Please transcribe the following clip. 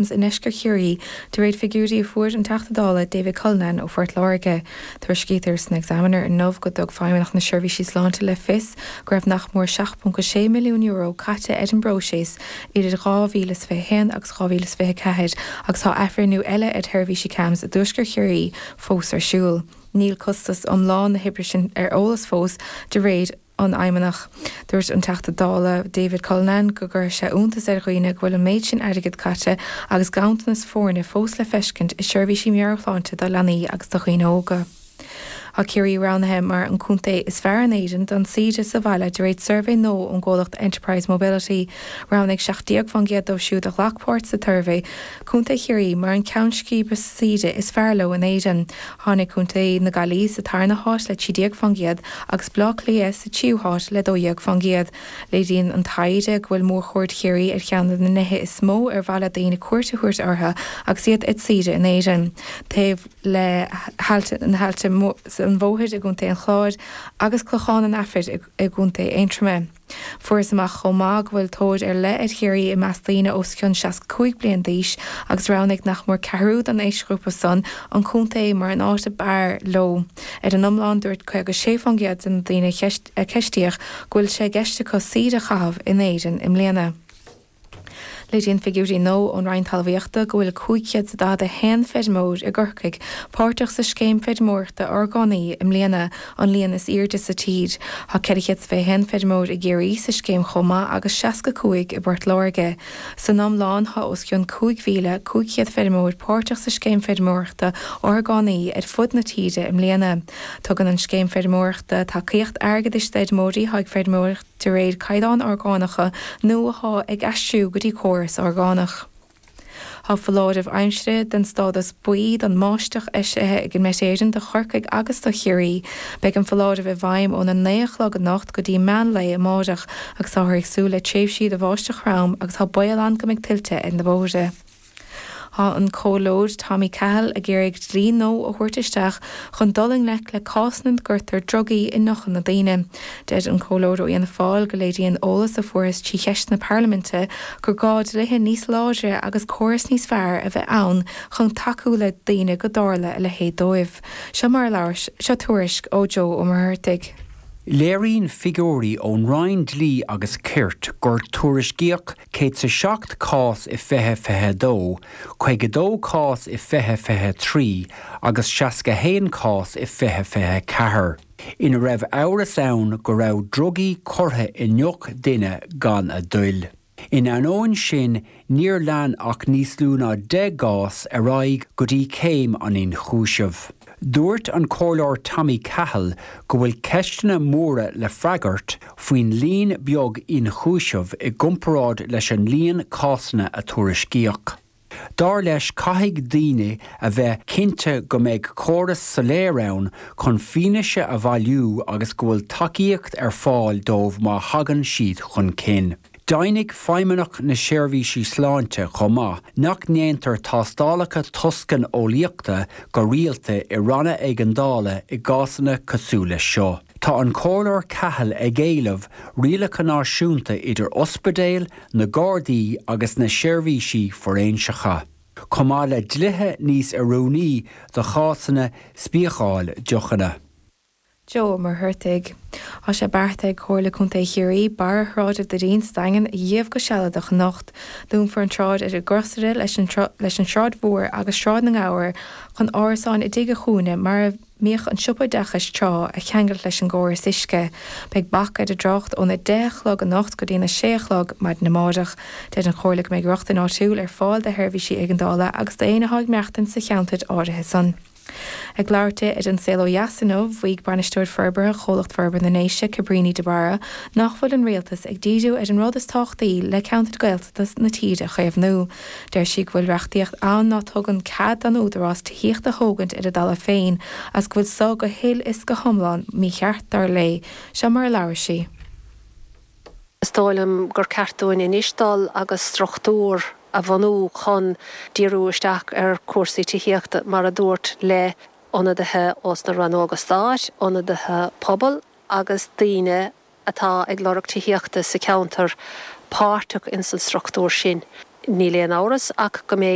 I ndeisceart Chiarraí, de réir figiúirí a fuair an Teachta Dála David Cullinane ó Phort Láirge. Tuairiscítear san Examiner inniu go dtug Feidhmeannacht na Seirbhísí Sláinte le fios go raibh nach mór €7.6 milliún caite ar an bpróiseas idir 2021 agus 2024 agus tá athbhreithniú eile ar sheirbhísí CAMHS i dtuaisceart Chiarraí fós ar siúl. Níl costas iomlán na hoibre sin ar eolas fós, de réir. an Fheidhmeannach. Dúirt an Teachta Dála David Cullinane go gcuirfeadh sé iontas ar dhaoine go bhfuil an méid sin airgid caite agus ganntanas foirne fós le feiscint i seirbhísí meabhairshláinte do leanaí agus do dhaoine óga. Tá Ciarraí roghnaithe mar an contae is fearr in Éirinn don saoire sa bhaile de réir suirbhé nua ón gcomhlacht Enterprise Mobility. Roghnaigh 17% dóibh siúd a ghlac páirt sa tsuirbhé Contae Chiarraí mar an ceann scríbe saoire is fearr leo in Éirinn. Tháinig Contae na Gaillimhe sa tarna háit le 13% agus Baile Átha Cliath sa tríú háit le 12%. Léiríonn an taighde go bhfuil mórchuaird Chiarraí ar cheann de na nithe is mó ar mhaith le daoine cuairt a thabhairt orthu agus iad ar saoire in Éirinn, taobh le na hAillte an Mhothair i gContae an Chláir agus Clochán an Aifir i gContae Aontroma. Fuarthas amach chomh maith go bhfuil tóir ar leith ar Chiarraí i measc daoine os cionn 65 bliain d'aois agus roghnaigh nach mór ceathrú den aoisghrúpa san an contae mar an áit ab fhearr leo. Ar an iomlán, dúirt 56% de na daoine a ceistíodh go bhfuil sé i gceist acu saoire a chaitheamh in Éirinn i mbliana. Léiríonn figiúirí nua ón Roinn Talmhaíochta go bhfuil 541 feirmeoir i gCorcaigh páirteach sa scéim feirmeoireachta orgánaí i mbliana, an líon is airde sa tír. Tá 421 feirmeoir i gCiarraí sa scéim chomh maith agus 65 i bPort Láirge. San iomlán tá os cionn 5,500 feirmeoir páirteach sa scéim feirmeoireachta orgánaí ar fud na tíre i mbliana. Tugann an scéim feirmeoireachta tacaíocht airgeadais d'fheirmeoirí atá ag feirmeoireacht de réir caighdeáin orgánacha nó atá ag aistriú go dtí córas orgánach. Tá foláireamh aimsire den stádas buí don mbáisteach eisithe ag Met Éireann do Chorcaigh agus do Chiarraí. Beidh an foláireamh i bhfeidhm óna 9 a chlog anocht go dtí meán lae amáireach agus táthar ag súil le tréimhsí de bháisteach throm agus tá baol ann go mbeidh tuilte ar na bóithre. Tá an Comhairleoir Tommy Cahill ag iarraidh dlí nua a thabhairt isteach chun dul i ngleic le cásanna ina gcuirtear drugaí i ndeochanna daoine. Deir an Comhairleoir ó Fhianna Fáil go léiríonn eolas a fuarthas trí cheisteanna parlaiminte gur gá dlíthe níos láidre agus córas níos fearr a bheith ann chun tacú le daoine go dtarla a leithéid dóibh. Seo mar a labhair, seo tuairisc ó Joe Ó Muircheartaigh. Léiríonn figiúirí ón Roinn Dlí agus Cirt gur tuairiscíodh 107 cás i 2022, 52 cás i 2023 agus 61 cás i 2024, ina raibh amhras ann go raibh drugaí curtha i ndeoch duine gan a dtoil. In ainneoin sin, níor lean ach níos lú ná 10 gcás ar aghaidh go dtí céim an ionchúisimh. Dúirt an Comhairleoir Tommy Cahill go bhfuil ceisteanna móra le freagairt faoin líon beag ionchúiseamh i gcomparáid leis an líon cásanna a tuairiscíodh. Dar leis caithfidh daoine a bheith cinnte go mbeidh córas soiléir ann chun fianaise a bhailiú agus go bhfuil tacaíocht ar fáil dóibh má thagann siad chun cinn. Deimhnigh Feidhmeannacht na Seirbhísí Sláinte chomh maith nach ndéantar tástálacha toscaineolaíochta go rialta i ranna éigeandála i gcásanna cosúil leis seo. Tá an Comhairleoir Cahill ag éileamh rialacha náisiúnta idir ospidéil, na Gardaí agus na seirbhísí fóiréinseacha, chomh maith le dlíthe níos oiriúnaí do chásanna spiacáil deochanna. Joe Ó Muircheartaigh. Tá sé beartaithe ag Comhairle Contae Chiarraí barra Shráid Doirín sa Daingean a dhíbh go sealadach anocht. Dúnfar an tsráid ar an gcrosaire leis an tSráid Mhór agus Sráid na nGabhar chun árasáin i dTigh a' Chúinne mar a mbíodh an siopa oideachais tráth, a cheangailt leis an gcóras uisce. Beidh bac ar an dtrácht óna 10 a chlog anocht go dtína 6 a chlog maidin amáireach. Deir an Chomhairle go mbeidh rochtain áitiúil ar fáil do sheirbhísí éigeandála agus d'éinne atá ag maireachtaint sa cheantar áirithe san. Ag labhairt di ar An Saol Ó Dheas inniu, mhaígh Bainisteoir Forbartha Chomhlacht Forbartha na nDéise, Cabríní de Barra, nach bhfuil an Rialtas ag díriú ar an rud is tábhachtaí le ceantair Gaeltachta na tíre a chaomhnú. Deir sí go bhfuil reachtaíocht ann ná tugann cead don Údarás tithíocht a thógaint ar a dtalamh féin agus go bhfuil so go huile is go hiomlán mícheart, dar léi. Seo mar a labhair sí. Is dóigh liom gur ceart dúinn anois dul agus struchtúr a bhunú chun díriú isteach ar chúrsaí tithíochta, mar a dúirt, le ionadaithe ós na rannóga stáit, ionadaithe pobail agus daoine atá ag lorg tithíochta sa cheantar páirteach ins an struchtúr sin. Níl aon amhras ach go mbeidh.